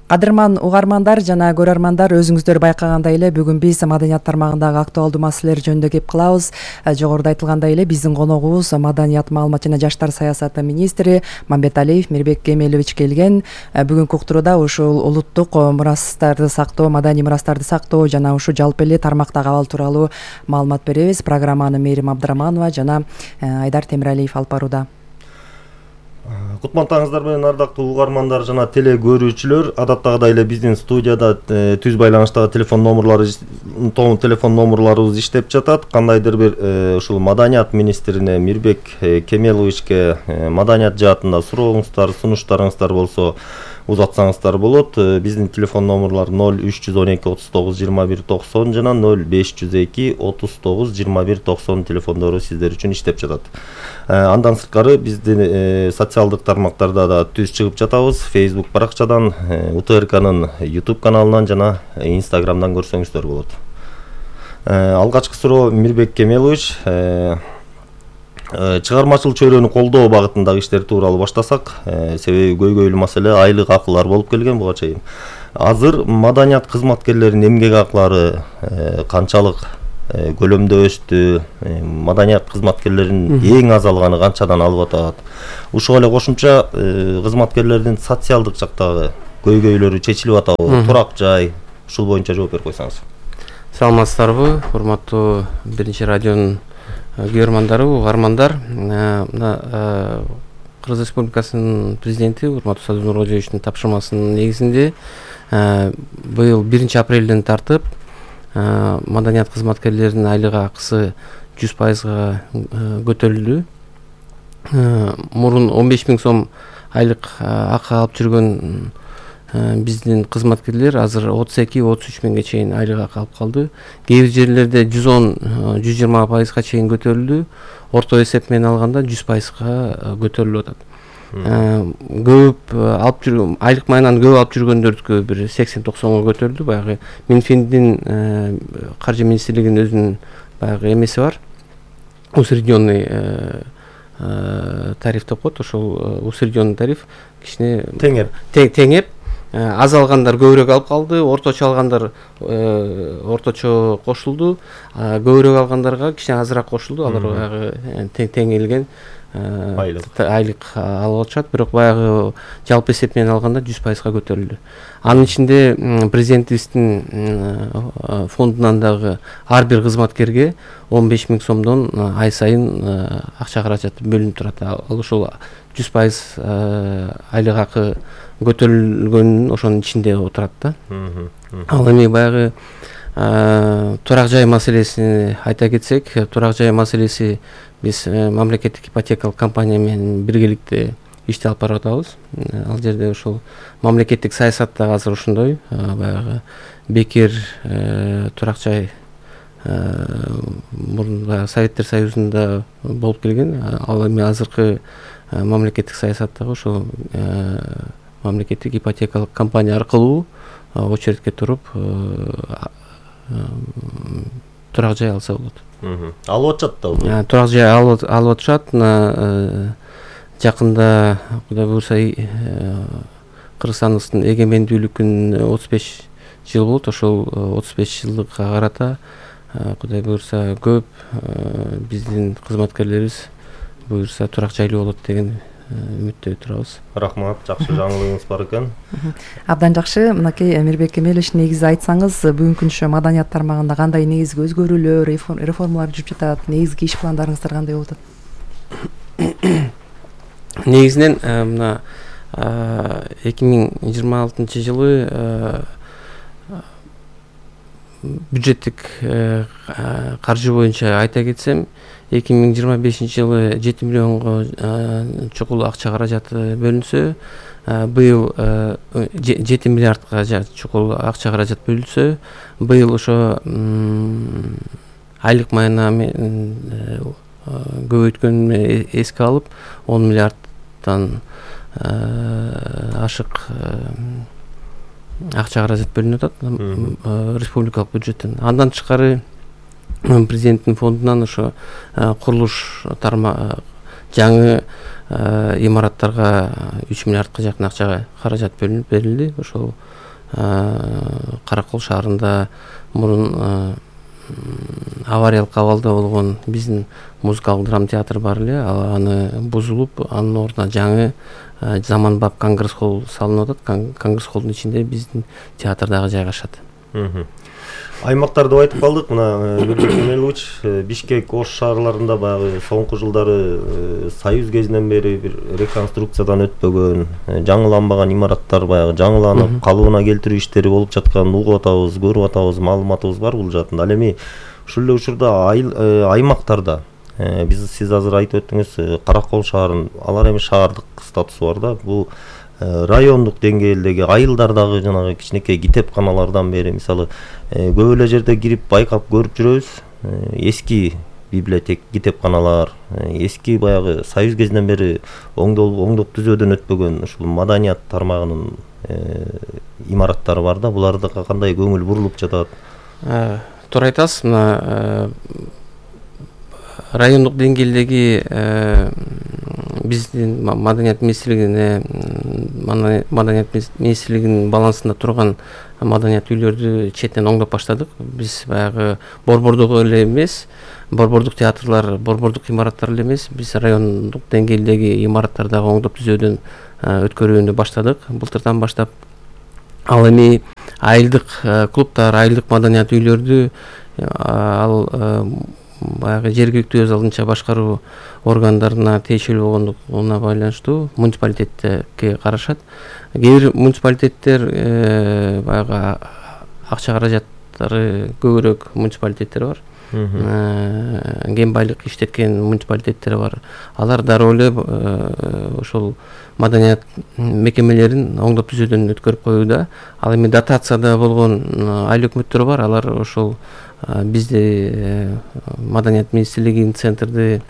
Кадырман угармандар жана көрөрмандар, өзүңүздөр байкагандай эле бүгүн биз маданият тармагындагы актуалдуу маселелер жөнүндө кеп кылабыз. Жогоруда айтылгандай эле биздин коногубуз маданият, маалымат жана жаштар саясаты министри Мамбеталиев Мирбек Кемелович келген. Бүгүнкү уктурууда ушул улуттук мурастарды сактоо, маданий мурастарды сактоо жана ушу жалпы эле тармактагы абал тууралуу маалымат беребиз. Программаны Мээрим Абдыраманова жана Айдар Темиралиев алып барууда. Кутмандыңыздар менен ардактуу угармандар жана теле көрүүчүлөр, адаттагыдай эле биздин студияда түз байланыштагы телефон номурларыбыз иштеп жатат. Кандайдыр бир ушул маданият министрине Мирбек Кемеловичке маданият жаатында сурооңуздар, сунуштарыңыздар болсо узатсаңыздар болот. Биздин телефон номурлар 0312 39 21 90 жана 0502 39 21 90 телефондору сиздер үчүн иштеп жатат. Андан сырткары биздин социалдык тармактарда да түз чыгып жатабыз. Facebook баракчадан, УТРКнын YouTube каналынан жана Instagramдан көрсөңүздөр болот. Алгачкы суроо Мирбек Кемелович, чыгармачыл чөйрөнү колдоо багытындагы иштер тууралуу баштасак, себеби көйгөйлүү маселе айлык акылар болуп келген буга чейин. Азыр маданият кызматкерлеринин эмгек акылары канчалык көлөмдө өстү, маданият кызматкерлеринин эң аз алганы канчадан алып атат? Ушуга эле кошумча кызматкерлердин социалдык жактагы көйгөйлөрү чечилип атабы, турак жай, ушул боюнча жооп берип койсоңуз. Саламатсыздарбы, урматтуу биринчи радионун көрөрмандары, угармандар. Кыргыз Республикасынын президенти урматтуу Садыр Нуркожоевичтин тапшырмасынын негизинде быйыл 1 апрелден тартып маданият кызматкерлеринин айлык акысы 100%га көтөрүлдү. Мурун 15 000 сом айлык акы алып жүргөн биздин кызматкерлер азыр 32-33 миңге чейин айлык акы алып калды. Кээ бир жерлерде 110-120%га чейин көтөрүлдү. Орто эсеп менен алганда 100%га көтөрүлүп атат. Көп алып жүргөн айлык майынан көп алып жүргөндөрдүкү бир 80-90га көтөрүлдү. Баягы Минфиндин каржы министрлигинин өзүнүн баягы эмеси бар. Усредненный тариф деп коет. Ошол усредненный тариф кичине теңеп аз алгандар көбүрөөк алып калды, орточо алгандар орточо кошулду, көбүрөөк алгандарга кичине азыраак кошулду. Алар баягы теңелген айлык алып атышат, бирок баягы жалпы эсеп менен алганда 100%га көтөрүлдү. Анын ичинде президентибиздин фондунан дагы ар бир кызматкерге 15 000 сомдон ай сайын акча каражаты бөлүнүп турат. Ал ошол 100% айлык акы көтөрүлгөнүн ошонун ичинде отурат да. Ал эми баягы турак жай маселесин айта кетсек, турак жай маселеси биз мамлекеттик ипотекалык компания менен биргеликте ишти алып барып атабыз. Ал жерде ошол мамлекеттик саясатта азыр ошондой, баягы бекер турак жай мурун Советтер Союзунда болуп келген. Ал эми азыркы мамлекеттик саясаттагы ошол мамлекеттик ипотекалык компания аркылуу очередке туруп турак жай алса болот. Алып атышат да. Турак жай алып атышат. Жакында Кудай буйрса Кыргызстандын эгемендүүлүгүнүн 35 жыл болот. Ошол 35 жылдыкка карата Кудай буйрса көп биздин кызматкерлерибиз буйрса турак жайлуу болот деген үмүттөй турабыз. Рахмат, жакшы жаңылыгыңыз бар экен. Абдан жакшы. Мынакей Мирбек Кемелович, негизи айтсаңыз, бүгүнкү маданият тармагында кандай негизги өзгөрүүлөр, реформалар жүрүп жатат, негизги иш пландарыңыздар кандай болуп атат? Негизинен мына 2026 жылы бюджеттик каржы боюнча айта кетсем, 2025 жылы 7 миллионго чукул акча каражаты бөлүнсө, быйыл 7 миллиардга чукул акча каражат бөлүнсө, быйыл ошо айлык майына көбөйткөнүн эске алып 10 миллиардтан ашык акча каражат бөлүнүп атат республикалык бюджеттен. Андан тышкары президенттин фондунан ошо курулуш жаңы имараттарга 3 миллиардка жакын акча каражат берилди. Ошол Каракол шаарында мурун авариялык абалда болгон биздин музыкалык драма театр бар эле, аны бузулуп, анын ордуна жаңы заманбап конгресс холл салынып атат. Конгресс холлдун ичинде биздин театр дагы жайгашат. Аймактарды айтып калдык. Мына Мирбек Кемелович, Бишкек, Ош шаарларында баягы соңку жылдары Союз кезинен бери бир реконструкциядан өтпөгөн, жаңыланбаган имараттар баягы жаңыланып, калыбына келтирүү иштери болуп жатканын угуп атабыз, көрүп атабыз, маалыматыбыз бар бул жаатында. Ал эми ушул эле учурда аймактарда сиз азыр айтып өттүңүз, Каракол шаарын, алар эми шаардык статусу бар да. Бул райондук деңгээлдеги айылдардагы жанагы кичинекей китепканалардан бери мисалы көп эле жерде кирип байкап көрүп жүрөбүз. Эски библиотека, китепканалар, эски баягы Союз кезинен бери оңдоп түзөөдөн өтпөгөн ушул маданият тармагынын имараттары бар да. Буларга кандай көңүл бурулуп жатат? Туура айтасыз. Мына райондук деңгээлдеги биздин маданият министрлигинин балансында турган маданият үйлөрдү четинен оңдоп баштадык. Биз баягы борбордук эле эмес, борбордук театрлар, борбордук имараттар эле эмес, биз райондук деңгээлдеги имараттардагы оңдоп түзөөдөн өткөрүүнү баштадык былтырдан баштап. Ал эми айылдык клубтар, айылдык маданият үйлөрдү ал баягы жергиликтүү өз алдынча башкаруу органдарына тиешелүү болгондугуна байланыштуу муниципалитетке карашат. Кээ бир муниципалитеттер баягы акча каражаттары көбүрөөк муниципалитеттер бар. Кен байлык иштеткен муниципалитеттер бар. Алар дароо эле ошол маданият мекемелерин оңдоп түзөөдөн өткөрүп коюуда. Ал эми дотацияда болгон айыл өкмөттөр бар. Алар ошол бизде маданият министрлигинин центрди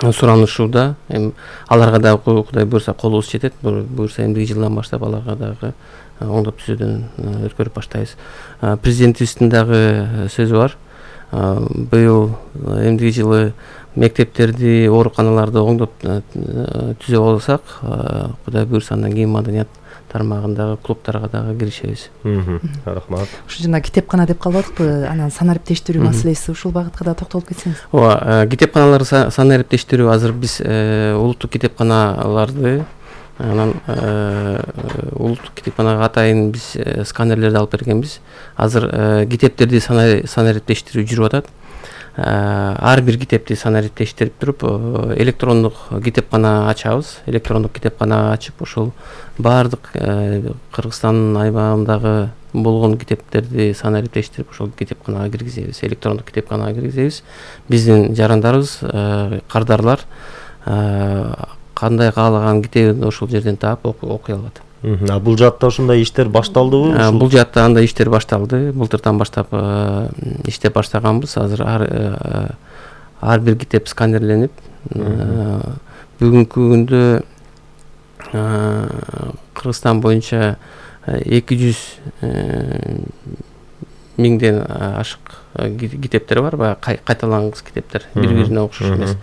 суранышууда. Аларга дагы Кудай буйрса колубуз жетет. Буйрса эмдиги жылдан баштап аларга дагы оңдоп түзөөдөн өткөрүп баштайбыз. Президентибиздин дагы сөзү бар. Быйыл эмдиги жылы мектептерди, ооруканаларды оңдоп түзөп алсак, Кудай буйрса андан кийин маданият тармагындагы клубтарга дагы киришебиз. Рахмат. Ушу жана китепкана деп калып атыкпы, анан санариптештирүү маселеси, ушул багытка да токтолуп кетсеңиз. Ооба, китепканалар санариптештирүү азыр биз улуттук китепканаларды, анан улуттук китепканага атайын биз сканерлерди алып бергенбиз. Азыр китептерди санариптештирүү жүрүп атат. Ар бир китепти санариптештирип туруп, электрондук китепкана ачабыз. Электрондук китепкана ачып, ошол баардык Кыргызстандын аймагындагы болгон китептерди санариптештирип, ошол китепканага киргизебиз, электрондук китепканага киргизебиз. Биздин жарандарыбыз, кардарлар кандай каалаган китебин ошол жерден таап окуй алат. Бул жаатта ушундай иштер башталдыбы? Бул жаатта андай иштер башталды. Былтырдан баштап иштеп баштаганбыз. Азыр ар бир китеп сканерленип, бүгүнкү күндө Кыргызстан боюнча 200 миңден ашык китептер бар, баягы кайталангыс китептер, бири-бирине окшош эмес.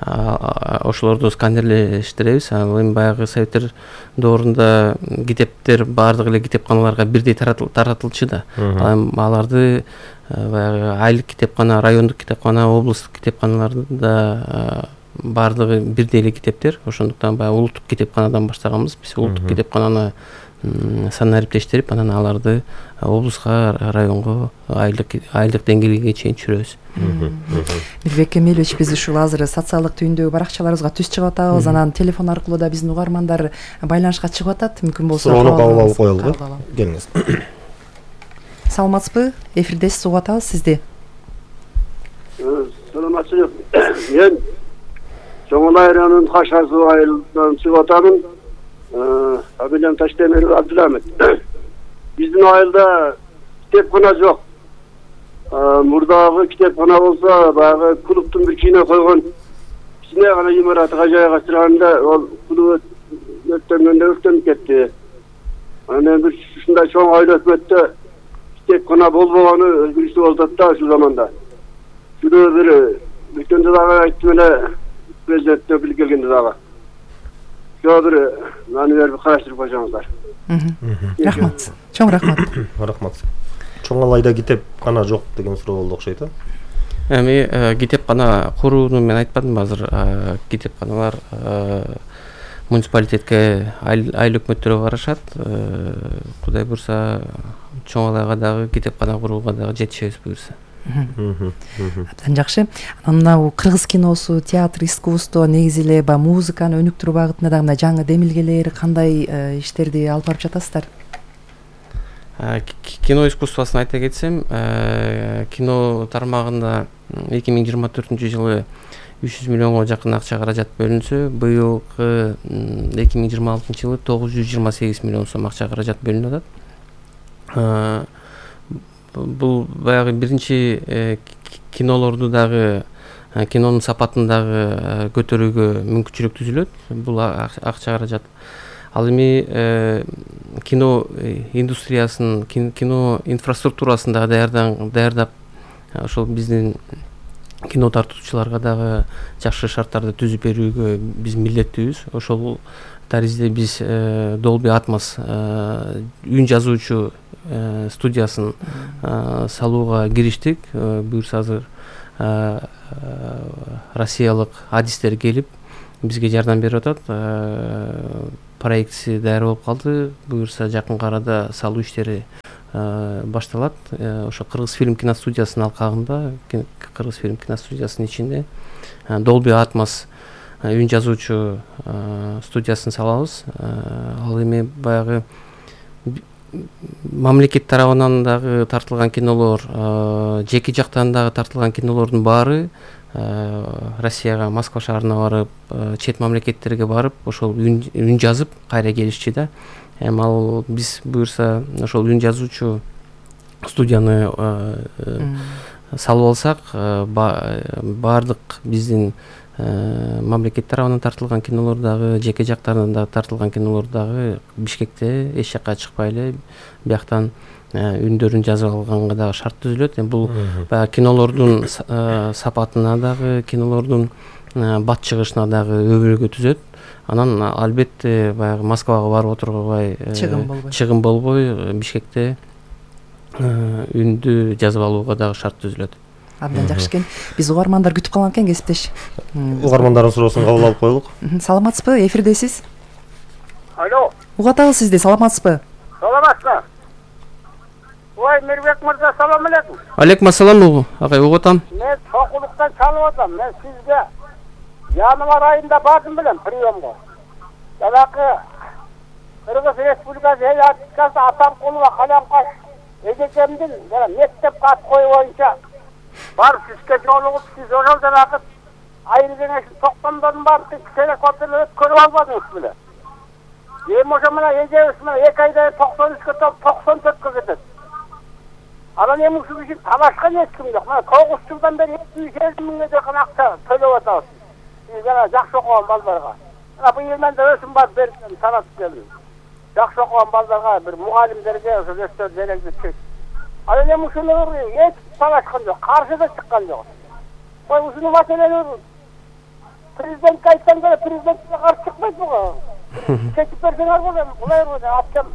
Ошолорду сканерлештиребиз. Ал эми баягы советтер доорунда китептер баардык эле китепканаларга бирдей таратылчу да. Аларды баягы айылдык китепкана, райондук китепкана, облустук китепканаларда баардыгы бирдей эле китептер. Ошондуктан баягы улуттук китепканадан баштаганбыз. Биз улуттук китепкананы санариптештирип, анан аларды облуска, районго, айылдык деңгээлге чейин түшүрөбүз. Мирбек Кемелович, биз ушул азыр социалдык түйүндөгү баракчаларыбызга түз чыгып атабыз. Анан телефон аркылуу да биздин угармандар байланышка чыгып атат. Мүмкүн болсо суроону кабыл алып коелу. Келиңиз. Саламатсызбы? Эфирдесиз, угуп атабыз сизди. Саламатсызбы. Мен Чоңол айылынын Кашасы айылынан чыгып атамын. Абилем Таштемиров Абдуламет. Биздин айылда китепкана жок. Мурдагы китепкана болсо, баягы клубтун бир кине койгон кичине гана имаратка жайгаштырганда, ол клуб өрттөнүп кетти. Анан бир ушундай чоң айыл өкмөттө китепкана болбогону өзгөрүштүү болуп атат да ушул заманда. Шуну бир өткөндө дагы айттым эле, президентте билип келгенде дагы. Бир мени берип караштырып койсоңуздар. Рахмат. Чоң рахмат. Рахмат. Чоң алайда китепкана жок деген суроо болду окшойт а? Эми китепкана курууну мен айтпадым азыр. Китепканалар муниципалитетке айыл өкмөттөргө карашат. Кудай буйрса чоң алайга дагы китепкана курууга дагы жетишебиз буйрса. Абдан жакшы. Анан мына кыргыз киносу, театр, искусство, негизи эле баягы музыканы өнүктүрүү багытында дагы мына жаңы демилгелер, кандай иштерди алып барып жатасыздар? Кино искусствосын айта кетсем, кино тармагында 2024-жылы 300 миллионго жакын акча каражат бөлүнсө, быйылкы 2026-жылы 928 миллион сом акча каражат бөлүнүп атат. Бул баягы биринчи кинолорду дагы, кинонун сапатын дагы көтөрүүгө мүмкүнчүлүк түзүлөт. Бул акча каражат. Ал эми кино индустриясын, кино инфраструктурасын дагы даярдап, ошол биздин кино тартуучуларга дагы жакшы шарттарды түзүп берүүгө биз милдеттүүбүз. Ошол таризде биз Dolby Atmos үн жазуучу студиясын салууга кириштик. Буюрса азыр россиялык адистер келип бизге жардам берип атат. Проектиси даяр болуп калды. Буюрса жакынкы арада салуу иштери башталат. Ошо Кыргыз фильм киностудиясынын алкагында, Кыргыз фильм киностудиясынын ичинде Dolby Atmos үн жазуучу студиясын салабыз. Ал эми баягы мамлекет тарабынан дагы тартылган кинолор, жеке жактан дагы тартылган кинолордун баары Россияга, Москва шаарына барып, чет мамлекеттерге барып, ошол үн жазып кайра келишчи да. Эми ал биз буйрса ошол үн жазуучу студияны салып алсак, баардык биздин мамлекет тарабынан тартылган кинолор дагы, жеке жактарынан дагы тартылган кинолор дагы Бишкекте эч жакка чыкпай эле бияктан үндөрүн жазып алганга дагы шарт түзүлөт. Бул баягы кинолордун сапатына дагы, кинолордун бат чыгышына дагы өбөлгө түзөт. Анан албетте баягы Москвага барып отурбай, чыгым болбой Бишкекте үндү жазып алууга дагы шарт түзүлөт. Абдан жакшы экен. Биз угармандар күтүп калган экен, кесиптеш. Угармандардын суроосун кабыл алып коелук. Саламатсызбы? Эфирдесиз. Алло. Угатабыз сизди, саламатсызбы? Саламатсызбы? Ой, Мирбек мырза, салам алейкум. Алейкум ассалам, агай, угатам. Мен Сокулуктан чалып атам. Мен сизге январь айында бардым билем приемго. Жанакы Кыргыз Республикасы эл артисткасы Атамкулова Калянкаш эжекемдин мектеп кат кою боюнча барып сизге жолугуп, сиз ошол жанакы айыл кеңешин токтомдорун барып телекоптерде көрүп албадыңыз беле? Эми ошо менен эжебиз менен 2 айда 93-кө 94-кө кетет. Анан эми ушул ишин талашкан эч ким жок. Мына 9 жылдан бери 750 миңге жакын акча төлөп атабыз. Сиз жана жакшы окуган балдарга. Мына быйыл мен да өсүм бар бердим, таратып келдим. Жакшы окуган балдарга, бир мугалимдерге ошо өстөр делегдик. Анан эми ушуну эч талашкан жок, каршы да чыккан жок. Кой ушуну маселени президентке айтсаң деле президентке каршы чыкпайт буга. Чечип берсеңер болот, булай атчам.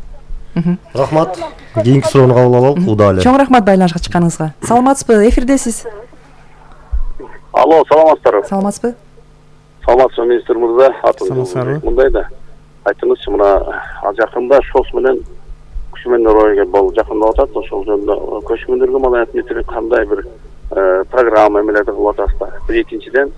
Рахмат. Кийинки суроону кабыл алалык. Куда эле. Чоң рахмат байланышка чыкканыңызга. Саламатсызбы? Эфирдесиз. Алло, саламатсыздарбы? Саламатсызбы? Саламатсызбы, министр мырза. Атым мындай да. Айтыңызчы, мына жакында ШОС менен көчмөндөр ойга болуп жакындап атат. Ошол жөнүндө көчмөндөргө маданият министри кандай бир программа эмелерди кылып атасыздар? Бир экинчиден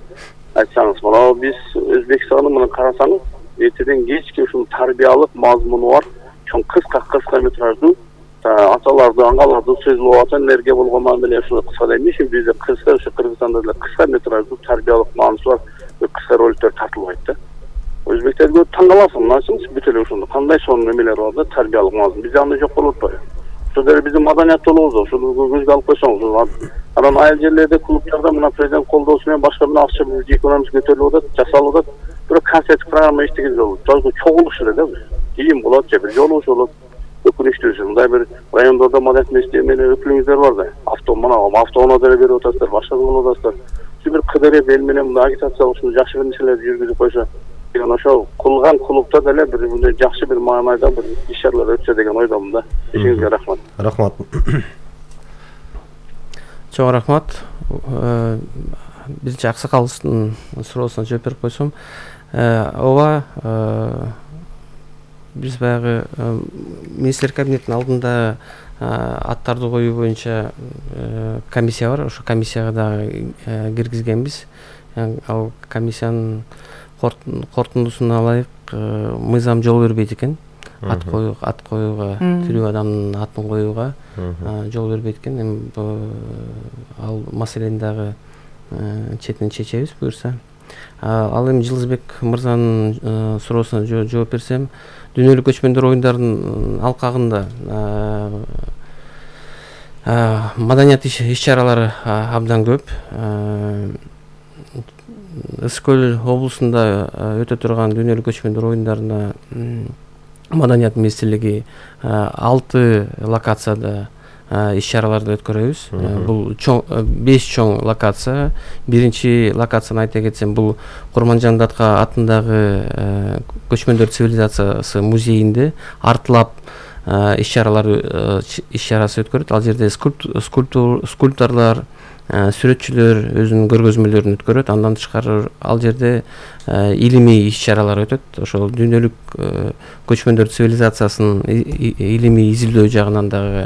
айтсаңыз, мына биз Өзбекстанды мына карасаңыз, эртеден кечке ушул тарбиялык мазмуну бар, чоң кыска метраждуу аталарды, аңгаларды сөзлөп атат, энергия болгон мамиле ушул кыска дейм. Бизде кыска, ошо Кыргызстанда деле кыска метраждуу тарбиялык мааниси бар кыска роликтер тартылбайт да. Өзбектерге таң каласың, мыначыңыз бүт эле ошондо кандай сонун эмелер бар да, тарбиялык мазмун. Бизде андай жок болуп атпайбы? Ошол деле биздин маданият жолубуз, ошону көзгө алып койсоңуз. Анан айыл жерлерде, клубтарда мына президент колдоосу менен башка менен акча экономика көтөрүлүп атат, жасалып атат. Бирок концерттик программа иштеген жок. Чогулуш эле да. Кийин болот, же бир жолугуш болот. Өкүнүчтүүсү, мындай бир райондордо маданият министри менен өкүлүңүздөр бар да. Автоунаа деле берип атасыздар, башка кылып атасыздар. жакшы бир кыдырып эл менен мындай агитация ушундай жакшы бир нерселерди жүргүзүп койсо деген ошол кылган клубда деле бир мындай жакшы бир маанайда бир иш-чаралар өтсө деген ойдомун да. Эшиңизге рахмат. Рахмат. Чоң рахмат. Биринчи аксакалдын суроосуна жооп берип койсом, ооба, биз баягы министрлер кабинетинин алдында аттарды коюу боюнча комиссия бар. Ошо комиссияга дагы киргизгенбиз. Ал комиссиянын корутундусуна ылайык мыйзам жол бербейт экен. Ат коюуга, тирүү адамдын атын коюуга жол бербейт экен. Эми ал маселени дагы четинен чечебиз буюрса. Ал эми Жылызбек мырзанын суроосуна жооп берсем, дүйнөлүк көчмөндөр оюндарынын алкагында маданият иш-чаралары абдан көп. Ысык Көл облусунда өтө турган дүйнөлүк көчмөндөр оюндарына Маданият министрлиги 6 локацияда иш-чараларды өткөрөбүз. Бул 5 чоң локация. Биринчи локацияны айта кетсем, бул Курманжан Датка атындагы көчмөндөр цивилизациясы музейинде артылап иш-чарасы өткөрөт. Ал жерде скульпторлор, сүрөтчүлөр өзүнүн көргөзмөлөрүн өткөрөт. Андан тышкары ал жерде илимий иш-чаралар өтөт. Ошол дүйнөлүк көчмөндөр цивилизациясынын илимий изилдөө жагынан дагы